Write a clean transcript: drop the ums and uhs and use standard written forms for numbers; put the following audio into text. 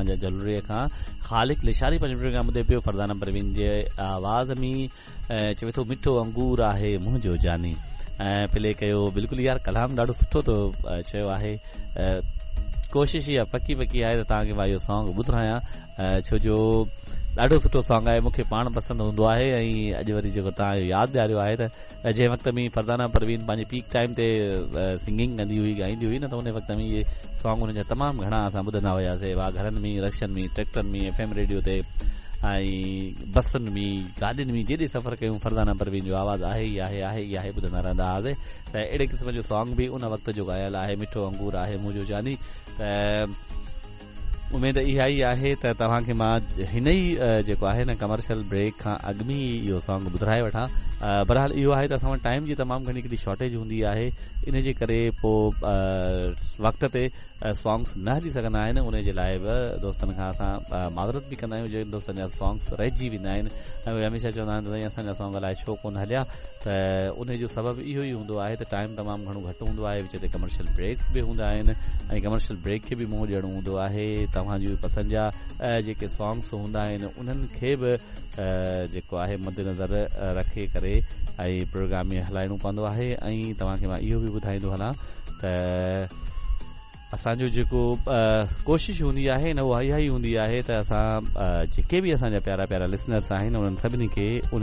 توهان جا جلوري کان. خالق لشاري پنهنجو پروگرام ٻڌي پيو فرزانه پروين جي آواز ۾ چوي ٿو مٺو انگور آهي منهنجو جاني ۽ پلي ڪيو بلڪل يار ڪلام ڏاڍو سٺو تو چيو آهي ڪوشش اها پڪي پڪي آهي ته توهان کي مان اهو سانگ ٻڌرايان ڇو جو ڏاڍو سٺو سانگ آهي مونکي پاڻ پسند هوندو آهي ۽ اڄ وري جيڪو توهان ياد ڏياريو آهي ته جنهن وقت ۾ فرزانه پروين پنهنجي پيڪ ٽائيم تي سنگنگ ڪندي هئي ڳائيندي هئي نه ته ان وقت ۾ اهي سانگ ان جا تمام گهڻا اسان ٻڌندا هياسي وا گهرن ۾ رڪشن ۾ ٽريڪٽرن ۾ ايف ايم ريڊيو تي ۽ بسن ۾ گاڏين ۾ جيڏي سفر ڪيون فرزانه پروين جو آواز آهي ئي آهي آهي ئي آهي ٻڌندا رهندا هئاسي ته اهڙي قسم جو سانگ به ان وقت جو ڳايل آهي مٺو انگور آهي منهنجو جاني ته اميد اها ئي آهي ته توهان کي مان هن ئي جيڪو آهي نه ڪمرشل بريڪ کان اڳ ۾ ئي اهو سانگ ٻڌرائي وٺان بهرحال اهو آهي ته اسان وٽ ٽائيم جي تمام گهڻي هڪڙي شارٽيج هوندي آهي ان جي ڪري پوء وقت تي سانگس نه هلي سگهندا آهن ان جي لاء به دوستن کان اسان معذرت به ڪندا آهيون جن دوستن جا سانگس رهجي ويندا آهن ۽ اهي هميشه چوندا آهن ته سائين اسان جا سانگ الائي ڇو ڪونه هليا ته ان جو سبب اهو ئي هوندو آهي ته ٽائيم تمام گهڻو گهٽ هوندو آهي وچ تي ڪمرشل بريڪس به هوندا آهن ۽ ڪمرشل بريڪ کي به منهن ڏيڻو هوندو آهي توهان جي پسند جا جيڪي سانگس هوندا آهن انهن کي به جيڪو آهي مد نظر رکي ڪري ۽ پروگرام ۾ هلائڻو پوندو آهي ۽ توهان کي مان اهو به ٻڌائيندو هلان ته اسان جو جيڪو ڪوشش هوندي آهي نه اها اها ئي هوندي آهي ته اسان جيڪي به اسان جا پيارا پيارا لسنرس آهن انهن سڀني کي ان